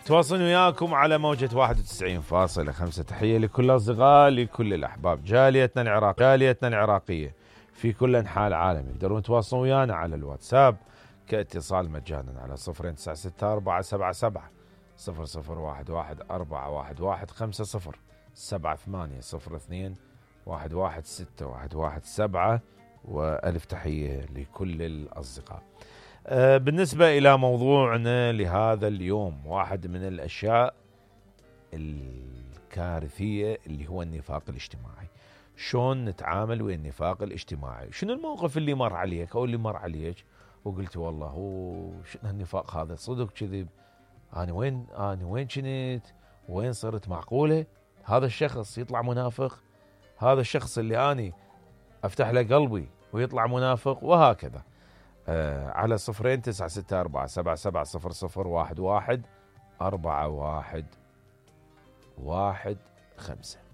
تواصلون وياكم على موجة 91.5. تحية لكل الأصدقاء، لكل الأحباب، جاليتنا العراقية في كل أنحاء العالم. يقدرون يتواصلون ويانا على الواتساب كاتصال مجانا على 0964770011 7802116117. وألف تحية لكل الأصدقاء. بالنسبة إلى موضوعنا لهذا اليوم، واحد من الأشياء الكارثية اللي هو النفاق الاجتماعي. شلون نتعامل ويا النفاق الاجتماعي؟ شنو الموقف اللي مر عليك أو اللي مر عليك وقلت والله هو شنو النفاق هذا، صدق كذب، أنا وين كنت، وين صرت، معقولة هذا الشخص يطلع منافق، هذا الشخص اللي أنا أفتح له قلبي ويطلع منافق، وهكذا. على 0964770011 4115.